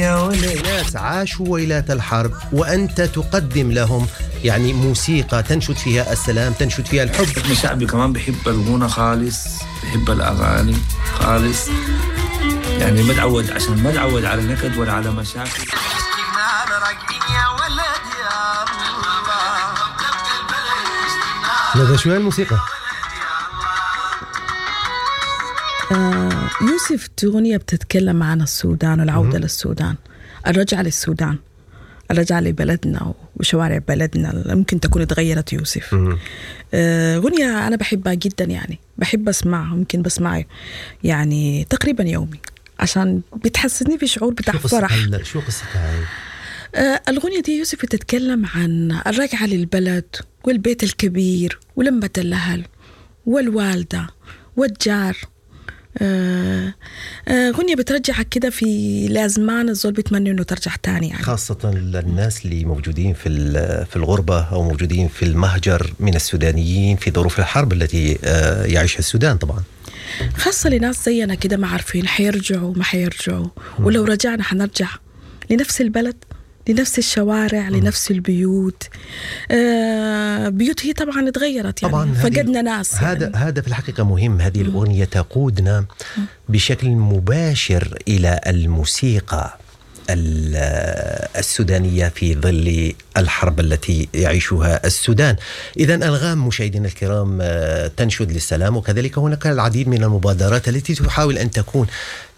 يا ولد. ناس عاشوا ويلات الحرب وأنت تقدم لهم يعني موسيقى تنشد فيها السلام، تنشد فيها الحب. احنا شعبي كمان بحب الغنى خالص، بحب الأغاني خالص، يعني ما تعود، عشان ما تعود على نكد ولا على مشاكل. هذا شو الموسيقى؟ يوسف، أغنية بتتكلم عن السودان والعودة للسودان، الرجعة للسودان، الرجعة لبلدنا وشوارع بلدنا ممكن تكون اتغيرت يوسف. أغنية أنا بحبها جدا، يعني بحب أسمعها، ممكن بسمعها يعني تقريبا يومي عشان بتحسسني في شعور بتاع فرح. شو قصتها هاي؟ الأغنية دي يوسف بتتكلم عن الرجعة للبلد والبيت الكبير ولمة الأهل والوالدة والجار. أغنية بترجعك كده في لازمان الزول بيتمنى إنه ترجع تاني، يعني خاصة للناس اللي موجودين في الغربة أو موجودين في المهجر من السودانيين في ظروف الحرب التي يعيشها السودان. طبعا خاصة لناس زينا كده ما عارفين حيرجعوا ما حيرجعوا، ولو رجعنا حنرجع لنفس البلد، لنفس الشوارع، لنفس البيوت. بيوت هي طبعا اتغيرت، يعني طبعاً فقدنا ناس. هذا يعني هذا في الحقيقة مهم. هذه الأغنية تقودنا بشكل مباشر إلى الموسيقى السودانية في ظل الحرب التي يعيشها السودان. إذا أنغام مشاهدينا الكرام تنشد للسلام، وكذلك هناك العديد من المبادرات التي تحاول أن تكون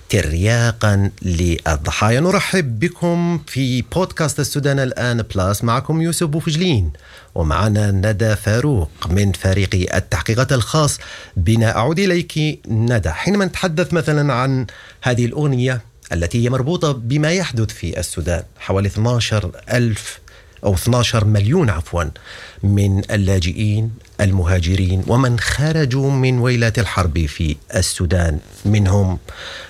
ترياقا للضحايا. نرحب بكم في بودكاست السودان الآن بلاس، معكم يوسف بوفجلين ومعنا ندى فاروق من فريق التحقيقات الخاص بنا. أعود إليك ندى، حينما نتحدث مثلا عن هذه الأغنية التي هي مربوطة بما يحدث في السودان، حوالي 12 ألف أو 12 مليون عفوا من اللاجئين المهاجرين ومن خرجوا من ويلات الحرب في السودان، منهم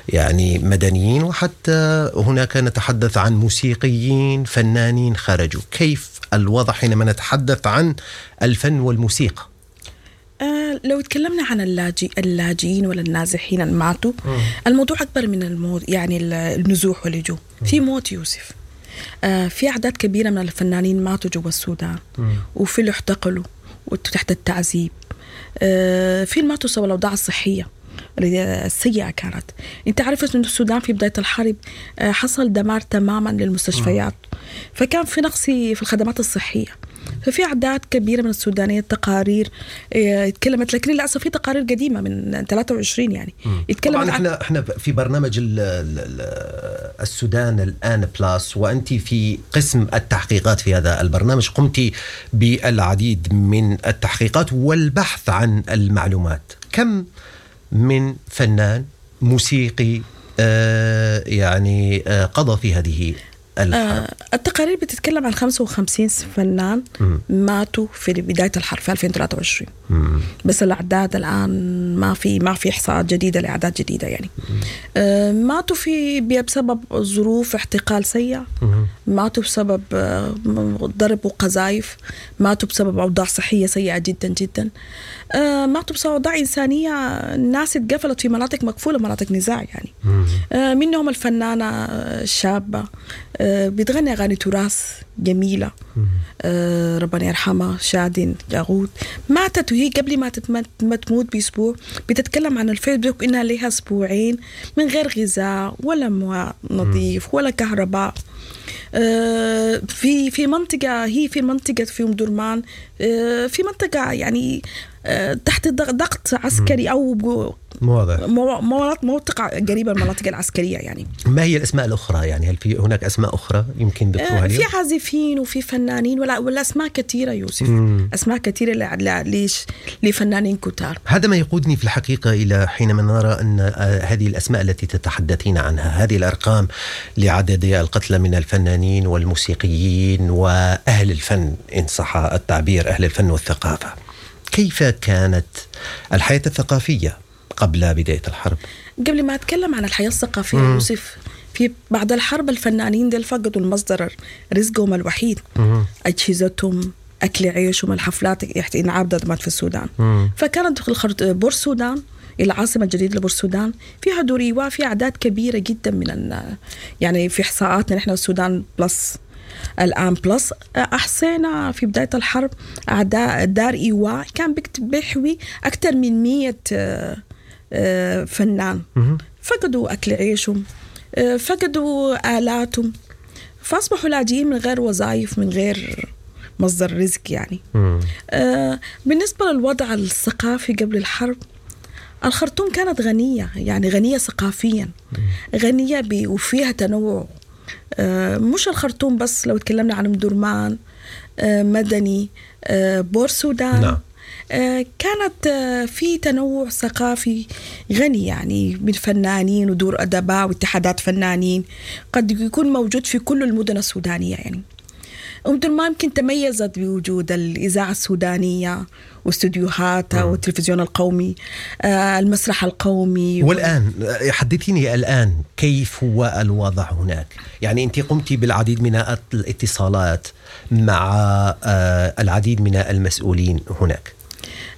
يعني مدنيين وحتى هناك نتحدث عن موسيقيين فنانين خرجوا. كيف الوضع حينما نتحدث عن الفن والموسيقى؟ لو تكلمنا عن اللاجئين ولا النازحين الماتوا، الموضوع أكبر من الموت، يعني النزوح واللجوء. في موت يوسف، في أعداد كبيرة من الفنانين ماتوا جوا السودان، وفي اللي اعتقلوا وتحت التعذيب، في اللي ماتوا بسبب الأوضاع الصحية السيئة كانت. أنت عارف إنه السودان في بداية الحرب حصل دمار تماما للمستشفيات، فكان في نقص في الخدمات الصحية، ففي أعداد كبيرة من السودانيين تقارير اتكلمت، لكن للأسف في تقارير قديمة من 23 يعني اتكلمت. طبعا احنا في برنامج السودان الآن بلاس، وأنت في قسم التحقيقات في هذا البرنامج قمت بالعديد من التحقيقات والبحث عن المعلومات. كم من فنان موسيقي يعني قضى في هذه الحرب؟ التقارير بتتكلم عن 55 فنان ماتوا في بداية الحرب في 2023. بس الأعداد الآن ما في إحصاءات جديدة لأعداد جديدة يعني. ماتوا في بسبب ظروف اعتقال سيئة، ماتوا بسبب ضرب وقذائف، ماتوا بسبب أوضاع صحية سيئة جدا جدا، ماتوا بسبب أوضاع إنسانية، الناس اتقفلت في مناطق مقفولة، مناطق نزاع يعني. منهم الفنانة الشابة بتغني أغاني تراث جميلة، ربنا يرحمها، شادن جاغوت، ماتت وهي قبل ما تموت بأسبوع بتتكلم عن الفيسبوك إنها لها أسبوعين من غير غذاء ولا ماء نظيف ولا كهرباء. في منطقة، هي في منطقة في أم درمان، في منطقة يعني تحت ضغط عسكري أو مناطق قريبة من المناطق العسكرية يعني. ما هي الأسماء الأخرى؟ يعني هل في هناك أسماء أخرى يمكن ذكرها اليوم؟ في عازفين وفي فنانين ولا أسماء كثيرة يوسف. أسماء كثيرة ليش لفنانين كتار. هذا ما يقودني في الحقيقة إلى حينما نرى أن هذه الأسماء التي تتحدثين عنها، هذه الأرقام لعدد القتلى من الفنانين والموسيقيين وأهل الفن إن صح التعبير، أهل الفن والثقافة، كيف كانت الحياة الثقافية قبل بداية الحرب؟ قبل ما أتكلم عن الحياة الثقافية يوسف، في بعد الحرب الفنانين ديل فقدوا المصدر رزقهم الوحيد، أجهزتهم، أكل عيشهم، الحفلات انعرضت في السودان. فكانت بور السودان العاصمة الجديدة لبورسودان، فيها دور إيواء، فيها أعداد كبيرة جدا من يعني في إحصاءاتنا نحن السودان بلس، الآن بلس، أحصينا في بداية الحرب أعداء دار إيواء كان بيحوي أكثر من 100 فنان. فقدوا أكل عيشهم، فقدوا آلاتهم، فأصبحوا لاجئين من غير وظائف، من غير مصدر رزق يعني. بالنسبة للوضع الثقافي قبل الحرب، الخرطوم كانت غنية، يعني غنية ثقافيا، غنية وفيها تنوع. مش الخرطوم بس، لو تكلمنا عن أم درمان، مدني، بور سودان. كانت في تنوع ثقافي غني، يعني من فنانين ودور أدباء واتحادات فنانين قد يكون موجود في كل المدن السودانية. يعني أم درمان يمكن تميزت بوجود الإذاعة السودانية واستديوهاتها والتلفزيون القومي، المسرح القومي. والآن حدثيني الآن كيف هو الوضع هناك؟ يعني أنت قمت بالعديد من الاتصالات مع العديد من المسؤولين هناك.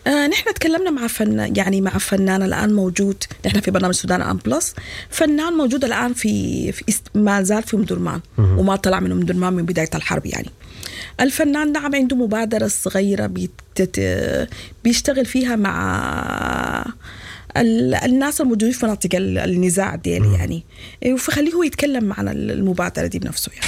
نحن تكلمنا مع فن، يعني مع فنان الآن موجود، نحن في برنامج سودان الآن بلس، فنان موجود الآن في ما زال في أم درمان وما طلع من أم درمان من بداية الحرب. يعني الفنان نعم عنده مبادرة صغيرة بيشتغل فيها مع الناس الموجودين في مناطق النزاع ديل يعني، فخليه هو يتكلم عن المبادرة دي بنفسه يعني.